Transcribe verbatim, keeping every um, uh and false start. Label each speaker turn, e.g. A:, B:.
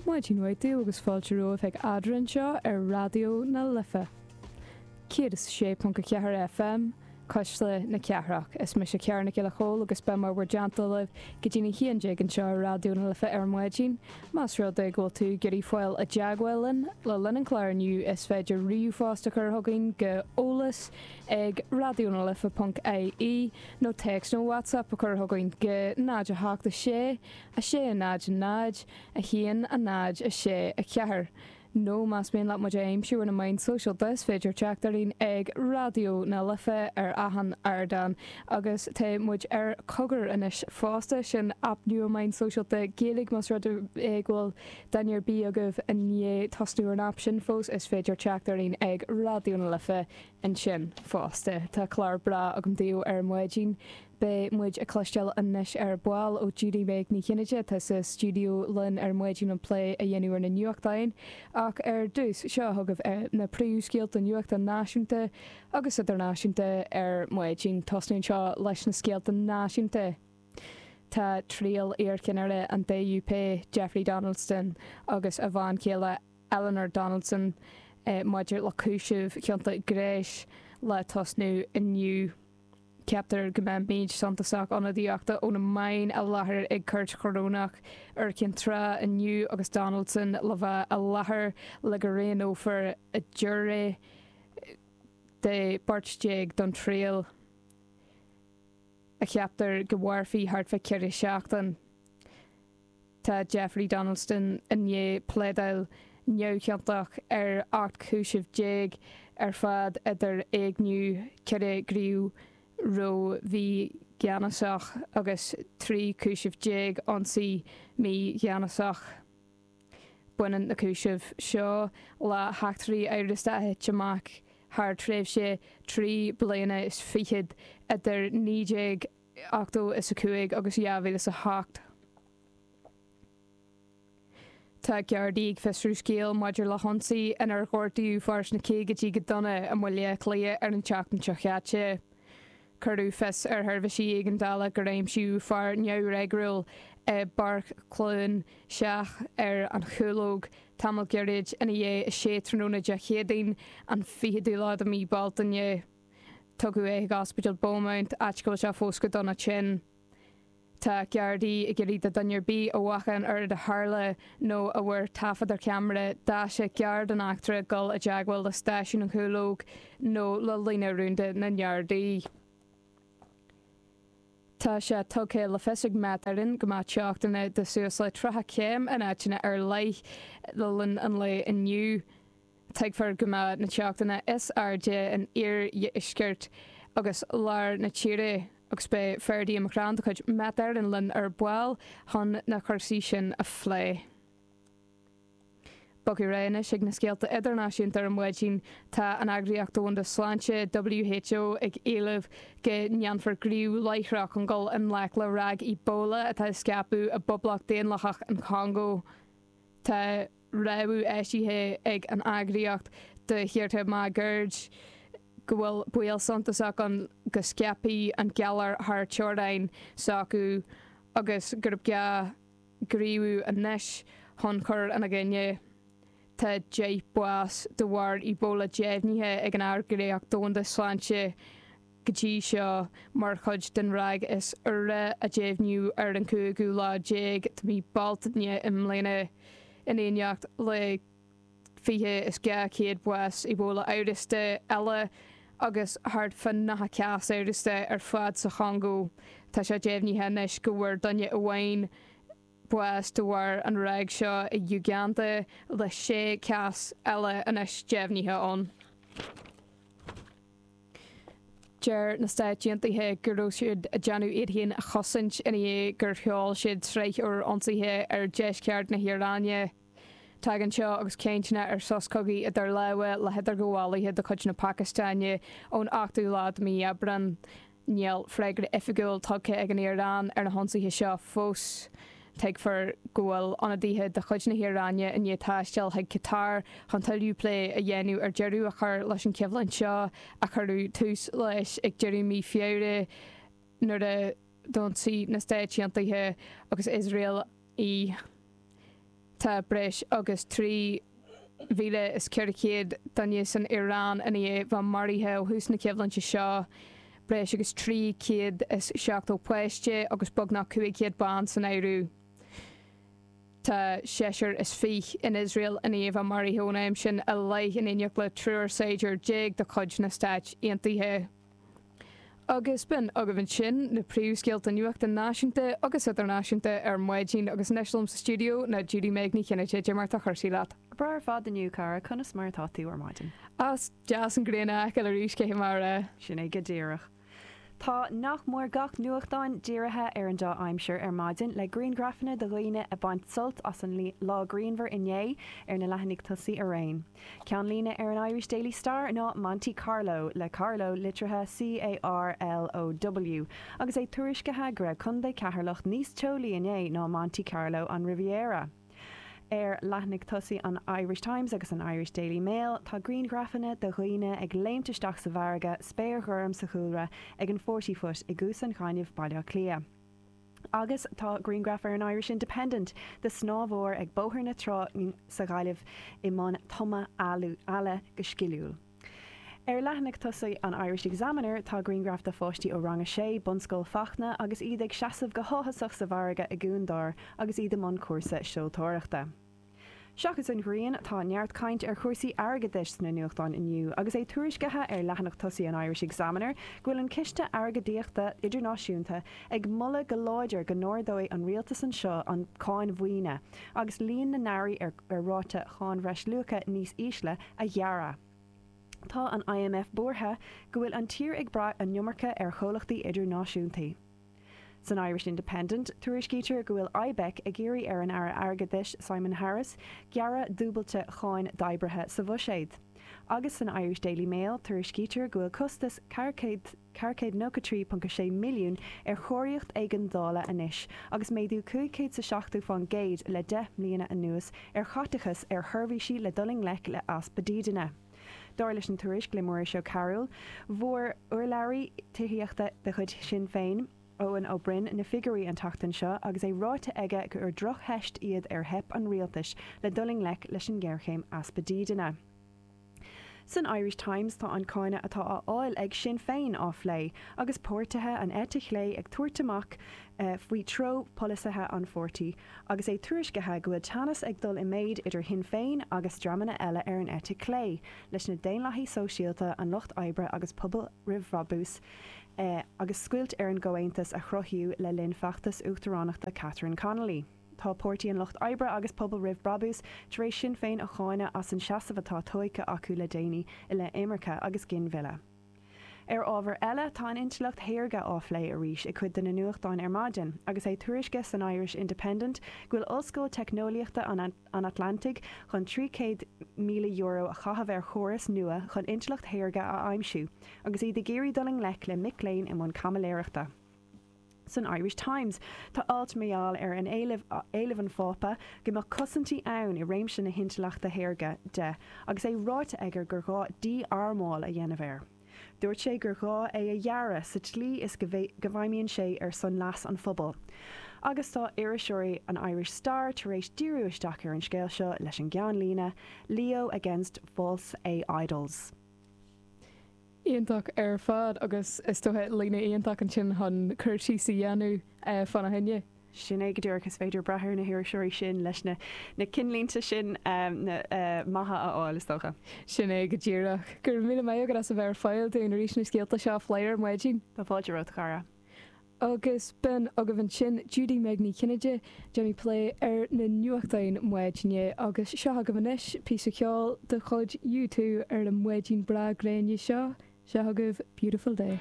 A: Maidin mhaith daoibh agus fáilte romhaibh chuig Eadrainn anseo ar Raidió na Life. Céad is a sé ponc a ceathair FM, Cuisle na Cathrach. Is mise Ciara Nic Giolla Chóill agus beidh mé i bhur dteannta libh go dtí a haon déag anseo ar Raidió na Life ar maidin. Más rud é go bhfuil tú ag iarraidh fáil i dteagmháil linn le linn an chláir inniu is féidir ríomhphost a chur chugainn go eolas ag raidionalife ponc ie nó téacs nó WhatsApp a chur chugainn go náid a hocht a sé, a sé a náid a náid, a haon a náid a sé a ceathair. Nó más mian leat muid a aimsiú ar na meáin sóisialta is féidir teacht orainn ag Raidió na Life ar achan ardán agus tá muid ar Cogar anois fosta, sin aip nua meáin sóisialta Gaeilge más rud é go bhfuil duine ar bith agaibh i ndiaidh tosnú ar an aip sin fós is féidir teacht orainn ag Raidió na Life ansin fosta. Tá clár breá agam daoibh ar maidin. Beidh muid ag cloisteáil anois ar ball ó Judy Meg Ní Chinnéide atá sa stiúideo linn ar maidin chun plé a dhéanamh ar na nuachtáin. Ach ar dtús, seo chugaibh na príomhscéalta nuachta náisiúnta agus idirnáisiúnta ar maidin. Tosnú anseo leis na scéalta náisiúnta. Tá triail iarcheannaire an DUP, Jeffrey Donaldson, agus a bhean chéile Eleanor Donaldson maidir le cúisimh chionta gnéis le tosnú inniu. Ceaptar go mbeidh méid suntasach ionadaíochta ó na meáin i láthair ag Cúirt Chorónach Iúr Chinn Trá inniu agus Donaldson le bheith i láthair le go roghnófar giúiré de bheirt déag don triail a cheaptar go mairfidh thart fá ceithre seachtain. Tá Jeffrey Donaldson i ndiaidh pléadáil neamhchiontach ar ocht chúiseamh déag ar fad idir éigniú, ceithre ghníomh ró-mhígheanasach agus trí chúiseamh déag ionsaí mígheanasach. Baineann na cúisimh seo le heachtraí amhrasta a thit amach thar tréimhse trí bliana is fichead idir naoi déag ochtó is a cúig agus dhá mhíle is a hocht. Tá Gardaí ag fiosrú scéal maidir le hionsaí inar gortaíodh fear sna caogaidí go dona i mBaile Átha Cliath ar an tseachtain seo caite. Cuireadh fios ar sheirbhísí éigeandála gur aimsíodh fear neamhfhreagrúil i bPáirc Chluain Seach ar an Chúlóg tamall gairid ina dhiaidh a sé tráthnóna Dé Céadaoin, an fichiú lá de mhí Bealtaine. Tugadh é chuig Ospidéal Beaumont, áit go bhfuil sé fós go dona tinn. Tá Gardaí ag iarraidh do dhuine ar bith a bhfaca an rud a tharla nó a bhfuair taifead ar cheamara daise gar don eachtra dul i dteagmháil le stáisiún an Chúlóg nó le líne rúnda na nGardaí. Tá sé tugtha le fios ag Met Éireann go mbeidh teochtanna de suas le tríocha céim in áiteanna ar leith le linn an lae inniu. Tuigfear go mbeidh na teochtanna is airde in iardheisceart agus lár na tíre agus beidh Ferdia McCrann de chuid Met Éireann linn ar ball chun na cúrsaí sin a phlé. Bogadh ar aghaidh anois ag na scéalta idirnáisiúnta ar maidin. Tá an Eagraíocht Domhanda Sláinte, WHO, ag éileamh go ndéanfar gníomh láithreach chun dul i ngleic le ráig Ebola atá ag scaipeadh i bPoblacht Daonlathach an Chongó. Tá rabhadh eisithe ag an eagraíocht do thíortha máguaird go bhfuil baol suntasach ann go scaipfidh an galar thar teorainn s'acu agus gurb gá gníomhú anois chun cur ina gcoinne. Tá deich bás de bharr Ebola deimhnithe ag an Eagraíocht Dhomhanda Sláinte go dtí seo mar chuid den ráig is úire a deimhníodh ar an cúigiú lá déag de mhí Bealtaine i mbliana in éineacht le fiche is dhá chéad bás Ebola amhrasta eile agus thart fá nócha cás amhrasta ar fad sa Chongó. Tá sé deimhnithe anois go bhfuair duine amháin bás de bharr an ráig seo i Uganda le sé chás eile anois deimhnithe ann. Deir na Stáit Aontaithe go raibh siad ag déanamh iad féin a chosaint ina dhiaidh gur sheol siad sraith úr ionsaithe ar dheisceart na hIaráine. Tagann seo agus cainteanna ar sos cogaidh idir lámha le hidirghabhálaithe de chuid na Pacastáine ón ochtú lá de mhí Aibreán. Níl freagra oifigiúil tugtha ag an Iaráin ar na hionsaithe seo fós. Tuigfear go bhfuil ionadaithe de chuid na hIaráine i ndiaidh taisteal chuig Qatar chun tuilleadh plé a dhéanamh ar deireadh a chur leis an choimhlint seo a cuireadh tús leis ag deireadh mí Feabhra nuair a d'ionsaigh na Stáit Aontaithe agus Iosrael í. Tá breis agus trí mhíle is ceithre chéad duine san Iaráin i ndiaidh bheith maraithe ó thús na coimhlinte seo, breis agus trí chéad is seachtó páiste agus beagnach cúig chéad bean san áireamh. Tá seisear is fiche in Iosrael i ndiaidh bheith maraithe ón am sin i leith in éineacht le triúr saighdiúir déag de chuid na Stáit Aontaithe. Agus b'in agaibh ansin na príomhscéalta nuachta náisiúnta agus idirnáisiúnta ar maidin agus anois liom sa stiúideo ná Judy Meg Ní Chinnéide. Cad é mar tá cúrsaí leat?
B: Breá ar fad inniu, cara, conas mar atá tú ar maidin?
A: Is deas an ghrian a fheiceáil arís cé mar a.
B: Sin é go díreach. Tá nach mór gach nuachtán dírithe ar an dea-aimsir ar maidin le grianghrafanna de dhaoine ag baint sult as an lá grianmhar inné ar na leathanaigh tosaigh araon. Ceannlíne ar an Irish Daily Star ná Monte Carlo le Carlow litrithe C A R L O W agus é tuairiscithe go raibh Contae Cheatharlach níos teolaí inné ná Monte Carlo an Riviera. Ar leathanaigh tosaigh an Irish Times agus an Irish Daily Mail tá grianghrafanna de dhaoine ag léimt isteach sa bhfarraige, spéir ghorm sa chúlra ag an Forty Foot i gCuas an Ghainimh, Baile Átha Cliath. Agus tá grianghraf ar an Irish Independent de shnámhóir ag Bóthar na Trá sa Ghaillimh i mbun tumadh eala go sciliúil. Ar leathanaigh tosaigh an Irish Examiner tá grianghraf de pháistí ó rang a sé, Bunscoil Fachtna, agus iad ag seasamh go háthasach sa bhfarraige i gCuan Dár agus iad i mbun cúrsa seoltóireachta. Seachas an ghrian, tá neart caint ar chúrsaí airgeadais sna nuachtáin inniu, agus é tuairiscithe ar leathanach tosaigh an Irish Examiner go bhfuil an Ciste Airgeadaíochta Idirnáisiúnta ag moladh go láidir go n-ardóidh an rialtas anseo an cáin mhaoine agus líon na n-earraí ar ar ráta cháin bhreisluacha níos ísle a ghearradh. Tá an I M F buartha go bhfuil an tír ag brath an iomarca ar chomhlachtaí idirnáisiúnta. San Irish Independent, tuairiscítear go bhfuil I B E C ag iarraidh ar an Aire Airgeadais Simon Harris gearradh dúbailte cháin d'oibrithe sa bhuiséad. Agus san Irish Daily Mail tuairiscítear go bhfuil costas ceithre chéad nócha trí ponc sé milliún ar chóiríocht éigeandála anois agus méadú cúig chéad is seachtó faoin gcéad le deich mbliana anuas ar chaiteachas ar sheirbhísí le dul i ngleic le easpa dídine. Dar leis an tuairisc le Muiris Ó Cearúil, fuair urlabhraí tithíochta de chuid Sinn Féin, Eoin Ó Broin, na figiúirí an tseachtain seo agus é ráite aige gur drochtheist iad ar theip an rialtais le dul i ngleic leis an ngéarchéim easpa dídine. San Irish Times tá an cáineadh atá á fháil ag Sinn Féin á phlé, agus páirtithe an eite chlé ag tabhairt amach faoi treo polasaithe an pháirtí, agus é tuairiscithe go bhfuil teannas ag dul i méid idir Shinn Féin agus dreamanna eile ar an eite chlé, leis na Daonlathaigh Sóisialta, an Lucht Oibre agus Pobal Roimh Bhrabús, agus scoilt ar an gcomhaontas a cruthaíodh le linn feachtas uachtaránachta Catherine Connolly. Tá Páirtí an Lucht Oibre agus Pobal Roimh Brabús tar éis Sinn Féin a cháineadh as an seasamh atá tógtha acu le déanaí i leith imirce agus ginmhilleadh. Ar ábhar eile, tá an intleacht shaorga á phlé arís i cuid de na nuachtáin ar maidin, agus é tuairiscithe san Irish Independent go bhfuil Ollscoil Teicneolaíochta an an Atlantaigh chun trí chéad míle euro a chaitheamh ar chóras nua chun intleacht shaorga a aimsiú, agus iad ag iarraidh dul i ngleic le mic léinn i mbun caimiléireachta. San Irish Times tá alt mar gheall ar an éileamh éileamh an Phápa go mbeadh cosaintí ann i réimse na hintleachta shaorga de, agus é ráite aige gur ghá dí-armáil a dhéanamh air. Dúirt sé gur ghá é a dhearadh sa tslí is go bhfeidhmíonn sé ar son leas an phobail. Agus tá iriseoirí an Irish Star tar éis díriú isteach ar an scéal seo leis an gceannlíne "Leo against false A I idols."
A: Iontach ar fad, agus is dócha líne iontach ansin chun cur síos a dhéanamh fána choinne.
B: Sin é go díreach. Is féidir brath ar na hiriseoirí sin leis na na cinnlínte sin um, na uh, maithe a fháil, is dócha.
A: Sin é go díreach. Gur mí mé agus a bheith fáil dúinn arís na scéalta seo a phlé ar maidin.
B: Tá fáilte romhat, a chara.
A: Agus b'in agaibh ansin Judy Meg Ní Chinnéide ag déanamh plé ar na nuachtáin maidine, agus seo agaibh anois píosa ceoil de chuid U two ar an maidin breá gréine seo. Seo agaibh Beautiful Day.